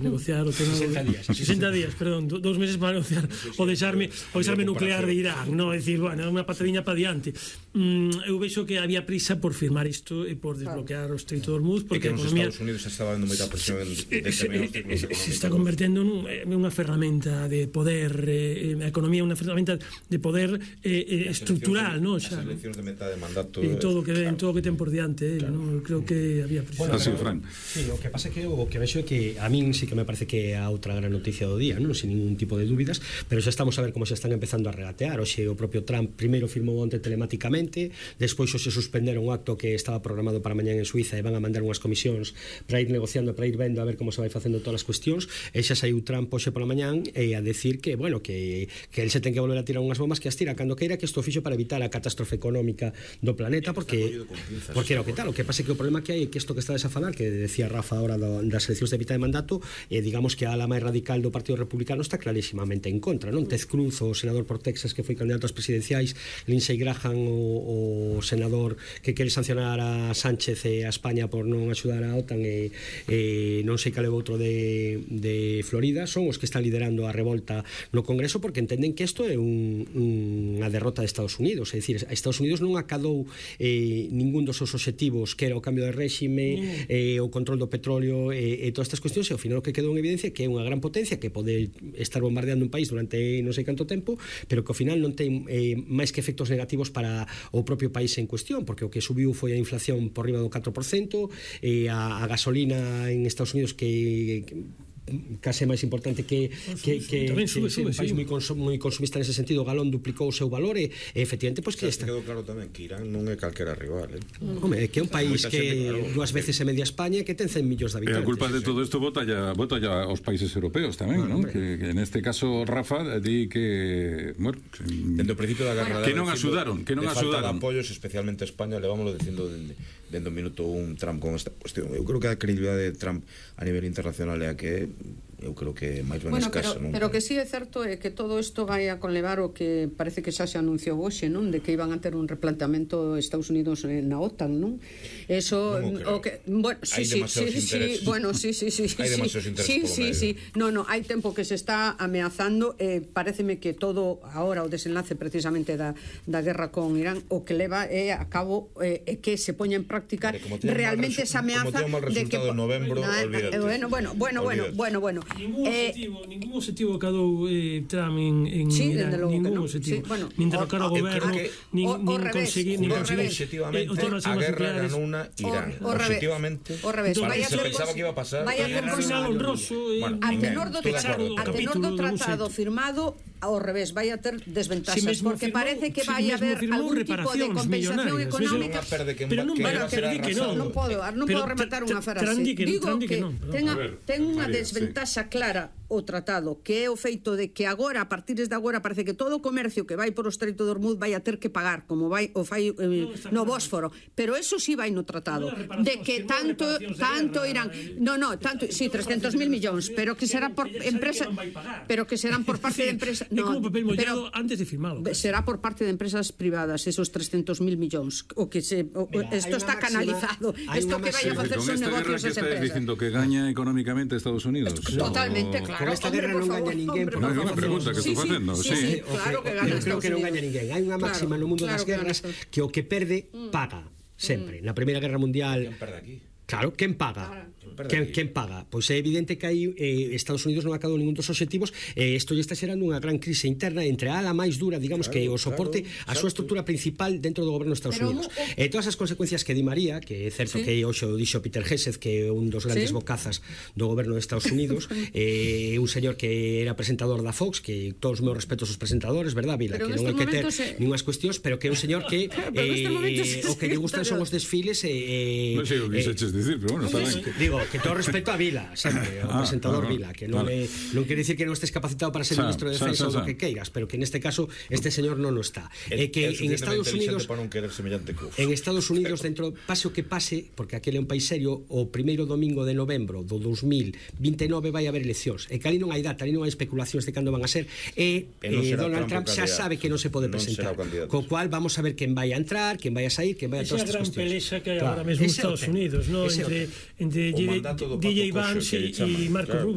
negociar o tema 60 días, perdón, 2 meses para negociar o desarme nuclear de Irán, non? É dicir, bueno, unha patadiña para diante. Eu vexo que había prisa por firmar isto e por desbloquear o Estreito de Hormuz, porque a economía nos Estados Unidos estaba dando moita presión se está convertendo nunha ferramenta de poder, a economía é unha ferramenta de poder estructural, non? As eleccións de metade de mandato en todo o que ten por diante, non? Creo que había prisa. Así, Fran. Sí, o que pasa é que o que vexo é que a min sí que me parece que é a outra gran noticia do día, non? Sin ningún tipo de dúbidas, pero xa estamos a ver como se están empezando a regatear. Oxe, o propio Trump primeiro firmou onte telemáticamente, despois se suspenderon un acto que estaba programado para mañán en Suiza e van a mandar unhas comisións para ir negociando, para ir vendo a ver como se vai facendo todas as cuestións, e xa saiu Trump hoxe pola mañán e a decir que, bueno, que el se ten que volver a tirar unhas bombas, que as tira cando queira, que isto fixo para evitar a catástrofe económica do planeta, porque era o que tal. O que pasa é que o problema que hai é que isto que estades a falar, que decía Rafa ahora das eleccións de mitad de mandato, digamos que a ala máis radical do Partido Republicano está clarísimamente en contra, non? Ted Cruz, o senador por Texas que foi candidato ás presidenciais, Lindsey Graham, o senador que quere sancionar a Sánchez e a España por non axudar a OTAN, e non sei cal é outro de Florida, son os que están liderando a revolta no Congreso, porque entenden que isto é unha derrota de Estados Unidos. É dicir, Estados Unidos non acadou ningún dos seus obxectivos, que era o cambio de réxime, o control do petróleo e todas estas cuestións, e ao final o que quedou en evidencia que é unha gran potencia que pode estar bombardeando un país durante non sei canto tempo, pero que ao final non ten máis que efectos negativos para o propio país en cuestión, porque o que subiu foi a inflación por riba do 4%, a gasolina en Estados Unidos que case máis importante que un país moi consumista nese sentido, o galón duplicou o seu valor e efectivamente, pois que está. Quedou claro tamén que Irán non é calquera rival, Home, que é un país que dúas veces é media España, que ten 100 millóns de habitantes. E a culpa de todo isto bota ya aos países europeos tamén, non? Que en este caso Rafa di que, bueno, dende o principio da guerra que non axudaron, falta de apoios, especialmente a España, levámoslo dicindo dende o minuto un Trump con esta cuestión. Eu creo que a credibilidade de Trump a nivel internacional é a que eu creo que é máis ben escasa, non? Pero que sí é certo é que todo isto vai a conlevar o que parece que xa se anunciou hoxe, non? De que iban a ter un replanteamento Estados Unidos na OTAN, non? Eso o que, bueno, sí, bueno, sí. No, hai tempo que se está ameazando, paréceme que todo agora o desenlace precisamente da guerra con Irán o que leva é a cabo que se poña en práctica realmente esa ameaza de que en novembro, olvídate. Bueno. Ningún objetivo cadou Trump en Irán, ningún objetivo, nin derrocar o goberno, nin conseguir objetivamente a guerra ganou unha Irán, objetivamente, se pensaba que iba a pasar un final honroso, a tenor do tratado firmado, ao revés, vai a ter desventaxas, porque parece que vai haber algún tipo de compensación económica, pero non vai a perder que non podo rematar unha frase, digo que ten unha desventaxa clara o tratado, que é o feito de que agora, a partir de agora, parece que todo o comercio que vai por o Estreito de Hormuz vai a ter que pagar, como vai o fai no Bósforo, pero eso sí vai no tratado, de que tanto irán, tanto, sí, 300.000 millóns, pero que será por empresa, pero que serán por parte de empresa, no, pero antes de firmalo, será por parte de empresas privadas esos 300.000 millóns, o que esto está canalizado, esto que vai a facer son negocios esas empresas. Dicindo que gaña económicamente Estados Unidos. Totalmente, claro. Con esta guerra non gaña ninguén. É unha pregunta que estou facendo. Sí, claro que gaña. Eu creo que non gaña ninguén. Hai unha máxima no mundo das guerras que o que perde paga sempre. Na Primeira Guerra Mundial, quen perde aquí? Claro, quen paga? Quen paga? Pois é evidente que aí Estados Unidos non acadou ningún dos obxectivos, isto lle está xerando unha gran crise interna entre a ala máis dura, digamos, que o soporte a súa estrutura principal dentro do goberno de Estados Unidos. E todas as consecuencias que di María, que é certo que hoxe o dixo Peter Hesed, que é un dos grandes bocazas do goberno de Estados Unidos, un señor que era presentador da Fox, que todos os meus respetos aos presentadores, verdad, Vila? Que non hai que ter ningunhas cuestións, pero que é un señor que o que lle gustan son os desfiles non sei o que quixeches dicir, pero bueno, está ben. Digo, que todo respeto a Vila, sempre, o presentador Vila, que non quere dicir que non estés capacitado para ser ministro de Defensa ou o que queiras, pero que neste caso este señor non o está. É que en Estados Unidos, dentro pase o que pase, porque aquele é un país serio, o primeiro domingo de novembro do 2029 vai haber eleccións, e que ali non hai data, ali non hai especulacións de cando van a ser, e Donald Trump xa sabe que non se pode presentar, co cual vamos a ver quen vai a entrar, quen vai a sair, quen vai a todas estas cuestións. Esa gran pelexa que hai agora mesmo en Estados Unidos, entre DJ Vance e Marco Rubio.